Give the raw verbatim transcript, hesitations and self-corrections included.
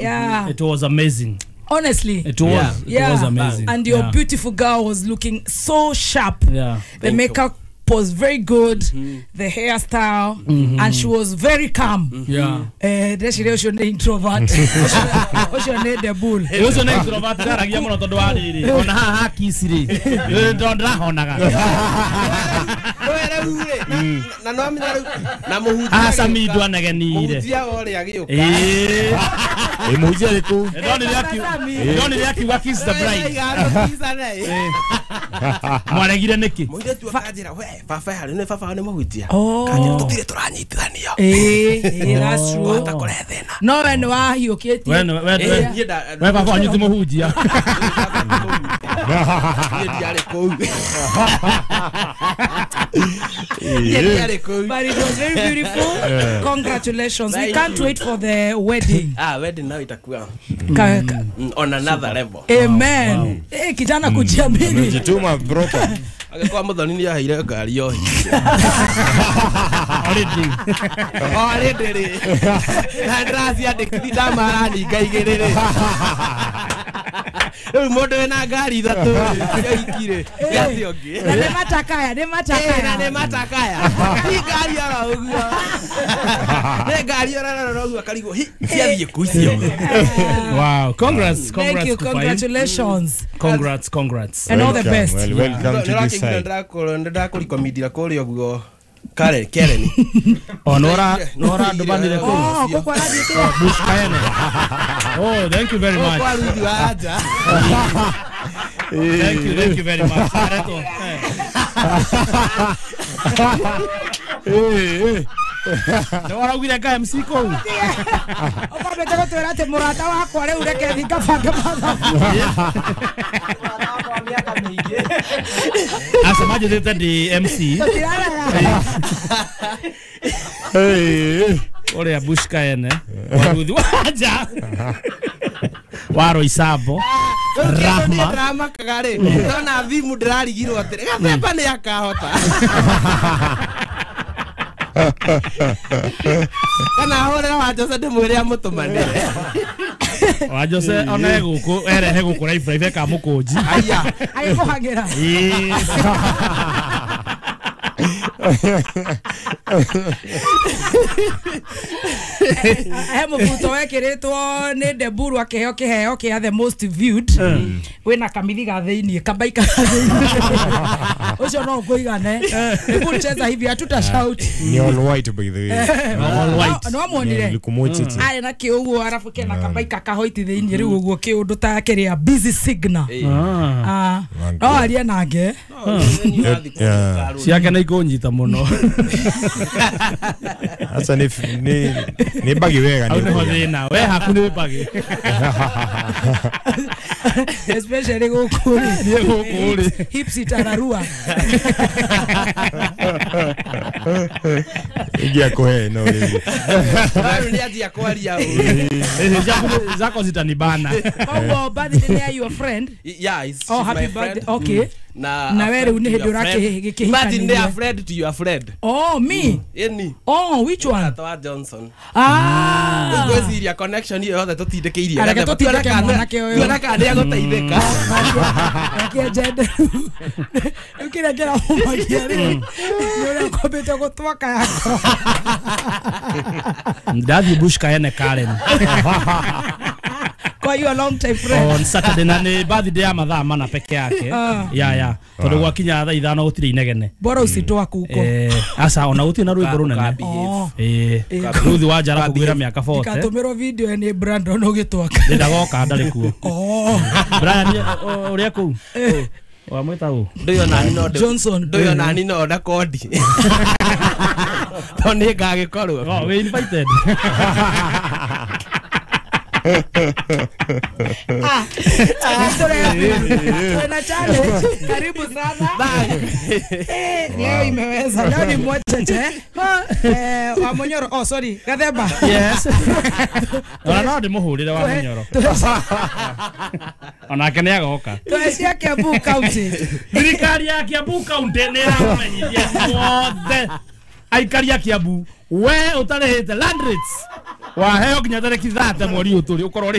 Yeah. It was amazing. Honestly, it was Yeah. it Yeah. was amazing. And your yeah. beautiful girl was looking so sharp. Yeah. The Thank makeup was very good, the hairstyle, and she was very calm. Yeah. Eh, ndeciria ũcio nĩ introvert. Ũcio nĩ the bull. Ũcio nĩ introvert ndaragia mũno tondũ wa rĩrĩ ona haha hakici rĩ ndo ndĩrahonaga We rĩu rĩ, na no amenya rĩu na mũhunjia aca agĩũka. mindu anegenire Mũhunjia wa ũrĩa agĩũka. ĩĩ Ĩ mũhunjia arĩ kũu? Ndonire akiu- ndonire akiuga kiss the bride. Mwaregire nĩkĩ? Mũirĩtu akanjĩra we baba harĩ nĩ baba nĩ mũhunjia. Oh. Kanjĩra tũtirĩ tũranyitithanio. Eh, eh, that's true. Wahota kũrehe thĩna. No we nĩ wahiũkĩtie. We nĩ- we- Eh, we- niĩ nda- we baba wanyu ti mũhunjia. Niĩ ndiarĩ kũu. Niĩ ndiarĩ kũu. But it was very beautiful. Congratulations. We Thank can't you. wait for the wedding. Ah, wedding now itakuwa Ka, ka, mm, on another level. Amen. Eh, kijana kujiamini. Amejituma proper. Agĩkorwo Mũthoni nĩ aheire ngari yo Already. already rĩ na ndĩraciandĩkithia ndamaraninga igĩrĩ rĩ rĩu mũndũ wĩna ngari ithatũ rĩ cia hiki rĩ gĩatĩ ũngĩ. Na nĩ matakaya, nĩ Eh, na matakaya. nĩ matakaya ti ngari oro ũguo nĩ ngari oro ũguo akarigwo hi ciathiĩ kũ icio. Wow, congrats, Thank congrats you, Kufail. congratulations. Congrats, congrats. And all the Welcome, best. well, welcome to this side. Nĩndakũrikomindira kũrĩa ũguo Karen Karen. Oh, nora nora ndũmanire kũu. Oh, kũkũ arathiĩte. Bush Kaene. Oh, thank you very much. Kwa Ruthi wa nja. Thank you, thank you very much. Aretwo. Eh, eh. Nĩ waraugire nga M C kũu. Ũkwambĩte gũtwĩra atĩ mũrata wakwa rĩu reke thiĩ ngabange mathabu. Aca manjĩtĩte ndĩ M C. Tũtiraraya. Eh, eh. Ũrĩa Bush Kaene. Wa Ruthi wa nja. Wa Roysambu. Rahma. Ndĩramakaga rĩ ndona thimu ndĩrarigirwo atĩrĩ gathemba nĩ akahota kana ahũrĩre wa Jose ndĩmwĩre amũtũmanĩre. Wa Jose ona e gũkũ erehe gũkũ live live eka mũkũnji. Aya. Agĩkũhang'ĩra. Ĩĩ. He mũbuto wekĩrĩtwo nĩ Deburu akĩheo kĩheo kĩa the most viewed wĩna kamithiga thĩiniĩ kabaika thĩiniĩ ũcio no ũkũigane. Deburu cheza hivi hatuta shout. Ni all white by the way. All white. No amuonire Nilikumochiti. arĩ na kĩ ũguo arabu kena kabaika kahoiti thĩiniĩ rĩu ũguo kĩũndũ ta kĩrĩa busy signal. Ah. Ah, no arie nake. Yeah. Ciake nĩ ikũnyita mũno. Sasa ni ni ni bagi wega Hau ni. nĩho thĩna. We haku nĩ mbagi. Especially gũkũ rĩ. Niĩ gũkũ rĩ. Hips itararua. Ingia kuhe no rĩ. Rĩu nĩ anjia kwaria ũru. Eh, zako zako zitanibana. Koguo birthday nĩ ya your friend. Yeah, it's, Oh, she's happy my friend. birthday. Okay. Na Na a we friend rĩu nĩ to hĩndĩ your friend. ũrakĩhikania. Imagine they are friend to your friend. Oh, me. Ĩni. Oh, which one? Mũrata wa Johnson. Ah. Ngwĩciria connection ĩyo yothe tũtindĩkĩirie Areke Gathemba. tũtindĩke Tuone kana- mwanake ũyũ. tuone kana nĩegũteithĩka. Reke njende rĩu kĩrĩa kĩramũmakia rĩ nĩ ũrĩa ũkombĩte gũtwaka ya ngoro. Ndathiĩ Bush Kaene Karen. Kwa hiyo long time friend. On Saturday na nĩ birthday ya mathaa mana peke yake. Ah. Ya ya. Tondũ gwakinya thaa ithano gũtirĩ inegene. Bora usitoa kuko. Eh, aca ona gũtirĩ na rwĩmbo rũnene. Oh. Eh, Ruthi wa Njara kũgwĩra mĩaka forty. Ndikatũmĩrwo video nĩ Brandon ũgĩtwaka. Ndĩndagoka ndarĩ kuo. Oh. Brian o- ũrĩa kũu? Wamwĩta ũ? Ndũyũ nani no ndĩ- Johnson. ndũyũ nani no ndakondi tondũ nĩ ngagĩkorwo. Oh, we invited. Ah, tuna challenge. Karibu sana. Eh, leo imeweza. Leo ni mwacheche. Eh, wa Munyoro. Oh, sorry. Gathemba. Yes. Ona no ndĩmũhũrĩre wa Munyoro. Onake nĩ agoka. Tuecia Kiambu County. Thirikari ya Kiambu County nĩ ĩramenyithia othe aikari a Kiambu we ũtarĩhĩte land rates Waheo nginya tarĩki thate mweri ũyũ tũrĩ ũkorwo.